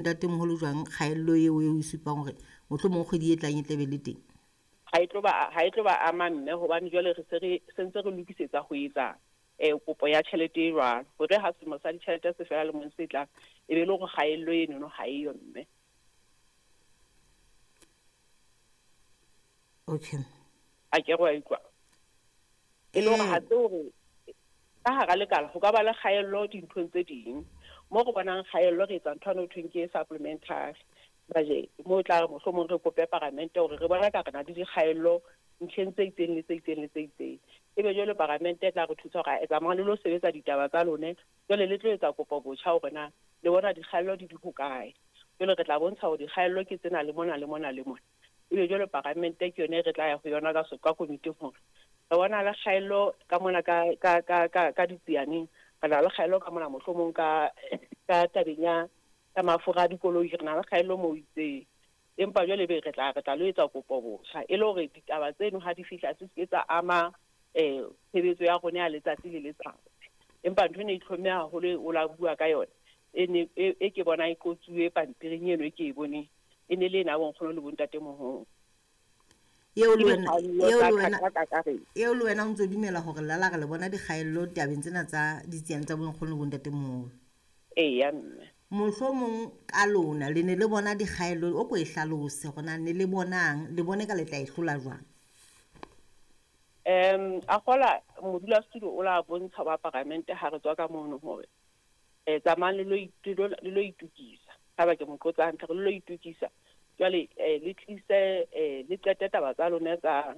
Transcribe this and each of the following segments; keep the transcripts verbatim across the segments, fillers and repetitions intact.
Ntatemoholo jwang kgaello eo eo e supang hore mohlomong kgwedi e tlang e tla be le teng? Ha e tlo ba ha e tlo ba ama mme, hobane jwale re se re sentse re lokisetsa ho etsa eh kopo ya tjhelete e jwalo, hore ha selemo sa ditjhelete se fela lemong se tlang, e be le hore kgaello enono ha eyo mme. Okay. A ke re wa utlwa? E le hore ha se hore ka hara lekala ho ka ba le kgaello dinthong tse ding. Mo re bonang kgaello re etsa ntho eno ho thweng ke supplementary budget, mo tla re mohlomong re kope paramente hore re bona ka re na le dikgaello ntlheng tse itseng le tse itseng le tse itseng. Ebe jwale paramente e tla re thusa hore tsamayang le lo sebetsa ditaba tsa lone, jwale le tlo etsa kopo botjha hore na le bona dikgaello di di hokae. Jwale re tla bontsha hore dikgaello ke tsena le mona le mona le mona. Ebe jwale paramente ke yone re tla ya ho yona ka ka komiting hore re bona le kgaello ka mona ka ka ka ka ka ditsianeng, re na le kgaello ka mona mohlomong ka ka tabeng ya ya mafura a dikoloi, re na le kgaello moo itseng. Empa jwale be re tla re tla lo etsa kopo botjha e le hore ditaba tseno ha di fihla se se tsa ama eh tshebetso ya rona ya letsatsi le letsatsi. Empa ntho ena e itlhomme haholo o la bua ka yona e ne e ke bona e qotsuwe pampiring eno e ke e boneng, e ne le ena bonkgono le bontatemoholo. Eo le wena eo le wena eo le wena o ntso dumela hore la la re le bona dikgaello tabeng tsena tsa ditsiane tsa bonkgono le bontatemoholo? Eya mme. Mohlomong ka lona le ne le bona dikgaello, o ko e hlalose hore na ne le bonang, le bone ka le tla e hlola jwang? Um a kgola modulasetulo o la bontsha wa paramente ha re tswa ka mono hore eh tsamayang le lo le lo itukisa. Ha ba ke mo qotsa hantle, re lo itukisa. Jwale eh le tlise eh le qete taba tsa lona tsa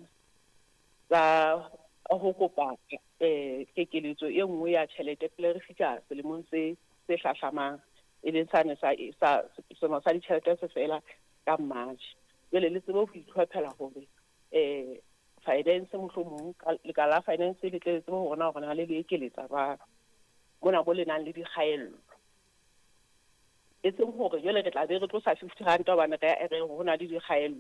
tsa ho kopa eh kekeletso e nngwe ya tjhelete pele re fihla selemong se se hlahlamang, e leng sane sa sa selemo sa ditjhelete se fela ka March. Jwale le tsebe ho itlhophela hore eh finance mohlomong lekala la finance le tle le tsebe hore na hore na le le ekeletsa jwang mona mo le nang le dikgaello. E seng hore jwale re tla be re tlosa fifty rand hobane re re ho na le dikgaello.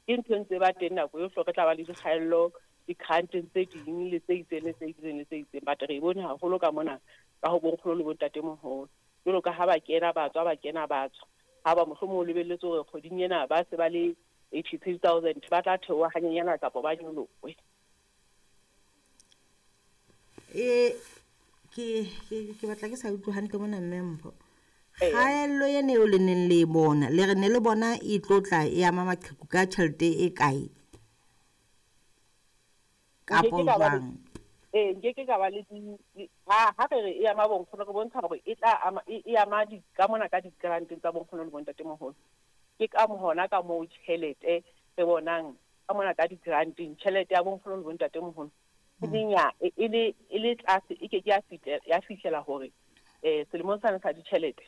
Ke ntho e ntse ba teng nako yohle, re tla ba le dikgaello di-granteng tse ding le tse itseng le tse itseng le tse itseng. But re e bone haholo ka mona ka ho bonkgono le bontatemoholo. Jwalo ka ha ba kena ba tswa, ba kena ba tswa. Ha ba mohlomong o lebelletse hore kgweding ena ba se ba le eighty-three thousand, ba tla theoha hanyenyana kapa ba nyolohe. E ke ke ke batla ke sa utlwe hantle mona mme Mpho. Kgaello ena eo le neng le e bona, le re ne le bona e tlo tla e ama maqheku ka tjhelete e kae? Kapo jwang? Eh nke ke ka ba le ha ha re re e ama bonkgono, re bontsha hore e tla ama e ama di ka mona ka di-granteng tsa bonkgono le bontatemoholo. Ke ka hona ka moo tjhelete re bonang ka mona ka di-granteng, tjhelete ya bonkgono le bontatemoholo e le nya e le e le tlase, e ke ke ya fihlela ya fihlela hore eh selemong sane sa ditjhelete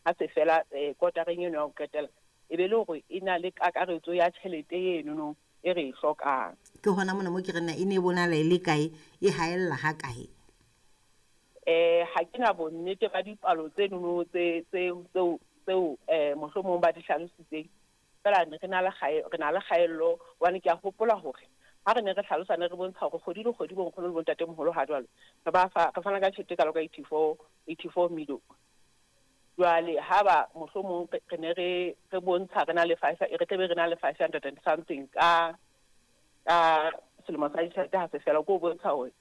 ha se fela eh kotareng eno ya ho qetela, e be le hore e na le kakaretso ya tjhelete eno no e re e hlokang. Ke hona mona mo ke re na e ne bonahala e le kae, e haella ha kae? Eh ha ke na bonnete ba dipalo tseno no tse tse tseo tseo eh mohlomong ba di hlalositseng. Fela re na le re na le kgaello, hobane ke a hopola hore ha re ne re hlalosa ne re bontsha hore kgwedi le kgwedi bonkgono le bontatemoholo ha jwale re ba fa re fana ka tjhelete e kalo ka eighty-four eighty-four million. Jwale ha ba mohlomong re ne re re bontsha re na le five re tlebe re na le five hundred and something ka ka selemo sa ditjhelete ha se fela, ko bontsha hore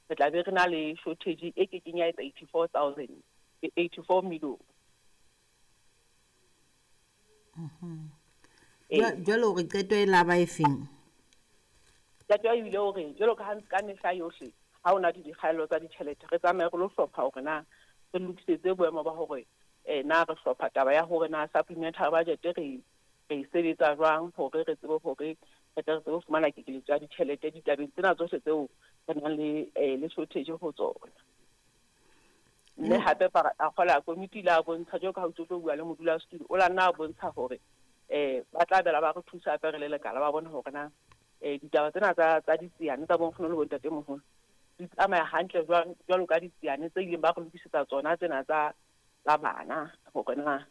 re tla be re na le shortage e kekeng ya etsa eighty-four thousand eighty-four million. Mhm. Jwale hore qeto e la ba e feng? Qeto e bile hore jwalo ka ha ka mehla yohle ha hona le dikgaello tsa ditjhelete, re tsamaye re lo hlopha hore na re lokisetse boemo ba hore eh na re hlopha taba ya hore na supplementary budget re re e sebetsa jwang hore re tsebe hore re tle re tsebe ho fumana kekeletso ya ditjhelete ditabeng tsena tsohle tseo re nang le eh le shortage ho tsona. Mme hape a kgola komiti la bontsha jwalo ka ha o tlo bua le modulasetulo, o la nna a bontsha hore eh ba tla bela ba re thusa hape re le lekala ba bone hore na eh ditaba tsena tsa tsa ditsiane tsa bonkgono le bontatemoholo di tsamaya hantle jwang jwalo ka ditsiane tse ileng ba re lokisetsa tsona tsena tsa tsa bana hore na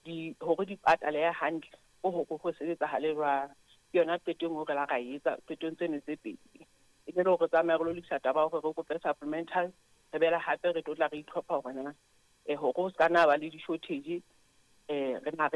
di hore di patalehe hantle ho ho ho sebetsahale jwang. Ke yona qeto e nngwe re la ra etsa qetong tseno tse pedi. E be le hore re tsamaye re lo lokisa taba hore re kope supplemental, re bela hape re tlo tla re itlhopha hore na eh hore ho ska nna ba le di-shortage Eh re na re